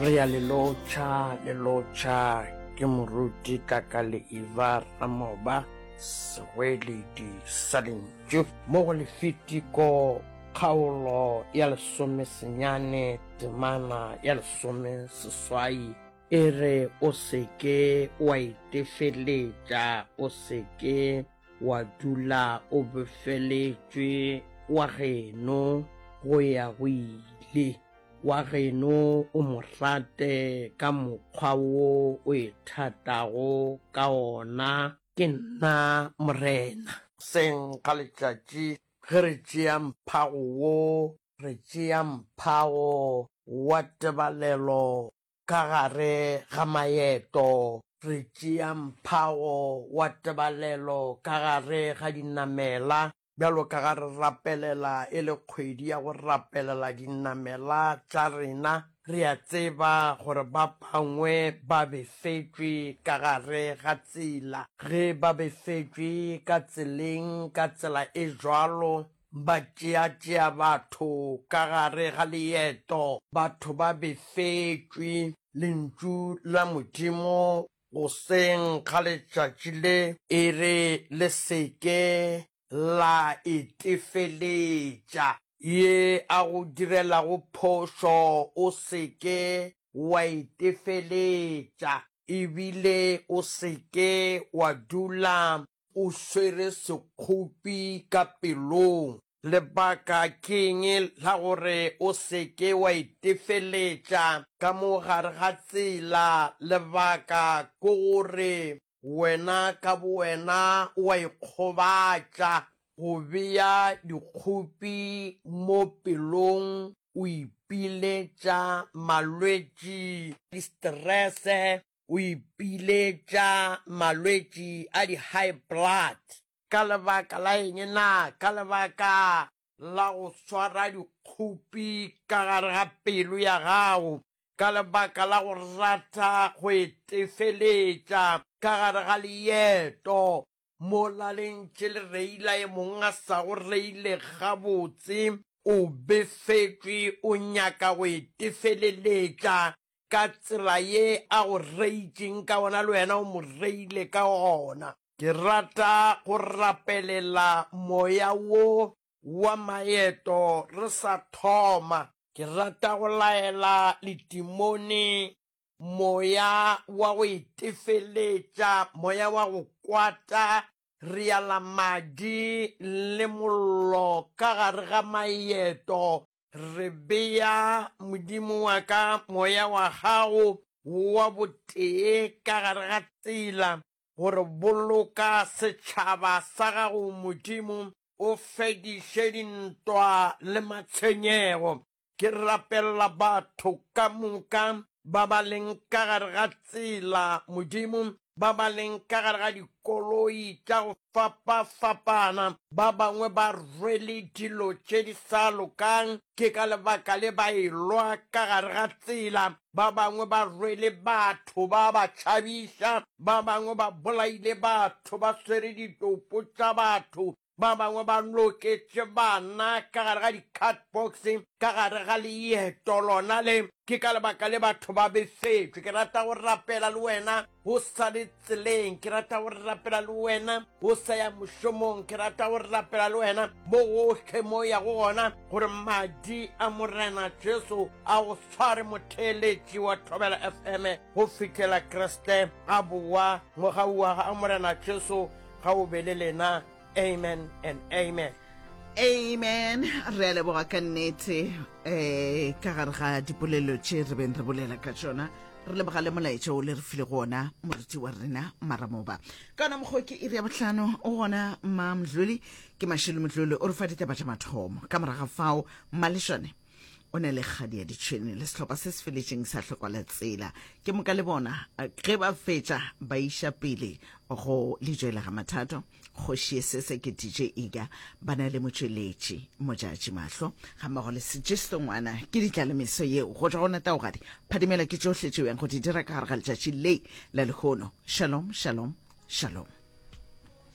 Re ya le lotšha, le lotšha ke moruti Tlakale Iva Ramoba, segoeledi sa lentšu mo go Lefitiko kgaolo ya lesomesenyane temana ya lesomeseswai e re o se ke wa itefeletša, o se ke wa dula o befeletšwe wa geno go ya go ile. Wa geno o mo rate ka mokgwa wo o ithatago ka ona. Ke nna Morena. Seng ga letšatši ge re tšea mphago wo, re tšea mphago wa tebalelo ka gare ga maeto, re tšea mphago wa tebalelo ka gare ga dinamela, Bjalo ka ga re rapelela e le kgwedi ya go rapelela dinamela tša rena, re a tseba gore ba bangwe ba befetšwe ka gare ga tsela. Ge ba befetšwe ka tseleng ka tsela e bjalo, ba tšeatšea batho ka gare ga leeto. Batho ba befetšwe. Lentšu la Modimo Goseng ga letšatši le e re le se ke la itefeletša. Ye a go direlago phošo o se ke wa itefeletša, e bile o se ke wa dula o swere sekgopi ka pelong. Lebaka ke'ng la gore o se ke wa itefeletša ka mo gare ga tsela? Lebaka ke gore wena ka bowena o a ikgobatša. Go bea dikgopi mo pelong o ipiletša malwetši, distrese, o ipiletša malwetši a di-high blood. Ka lebaka la eng na? Ka lebaka la go swara dikgopi ka gare ga pelo ya gago, ka lebaka la go rata go itefeletša ka gare ga leeto, mola le ntše le reila e mongwe a sa go reile gabotse, o befetšwe o nyaka go itefeleletša ka tsela ye a go reitšeng ka gona le wena o mo reile ka gona. Ke rata go rapelela moya wo wa maeto re sa thoma. Ke rata go laela letimone, moya wa go itefeletša, moya wa go kwata, re ala madi le mollo ka gare ga maeto, re bea, Modimo wa ka, moya wa gago wa botee ka gare ga tsela, Gore boloka setšhaba sa gago, Modimo, o fediše dintwa le matshwenyego. Ke rapelela batho ka moka ba ba leng ka gare ga tsela, Modimo, ba ba leng ka gare ga dikoloi tša go fapafapana, ba bangwe ba rwele dilo tše di sa lokang, ke ka lebaka le ba elwa ka gare ga tsela. Ba bangwe ba rwele batho ba ba tšhabiša, ba bangwe ba bolaile batho ba swere ditopo tša batho, ba bangwe ba loketše bana ka gare ga di-cardbox ka gare ga leeto lona le. Ke ka lebaka le batho ba befetšwe. Ke rata go rapela le wena o sa le tseleng, ke rata go rapela le wena o sa ya mošomong, ke rata go rapela le wena mo gohle mo ya go gona, gore madi a Morena Jesu a go sware motheeletši wa Thobela FM go fihlela Kriste a bowa. Mogau wa ga Morena Jesu ga o be le lena. Amen and amen. Amen. Re a leboga ka nnete um ka gare ga dipolelo tše re beng re bolela ka tšona. Re leboga le molaetša o le re file go ona moruti wa rena Maramoba. Ka ona mokgwa ke iri ya bohlano o gona mma Mdluli ke Mashilo Mdluli o re fa ditaba tša mathomo. Ka moraga fao Mmalešwane o na le kgadi ya ditšhwene le sehlopha se se feletšeng sa hlokwa la tsela. Ke moka le bona ge ba fetša ba iša pele go lejwe la ga Mathato. Kgoši ye sese ke DJ Iga ba na le motšweletši Modjadji Mahlo gammogo le Sejesto Ngwana. Ke ditlalemeso yeo go tšwa go Nataogadi. Phadimela ke tšohle tšeo yang go di dira ka gare ga letšatši le la lehono. Shalom, shalom, shalom.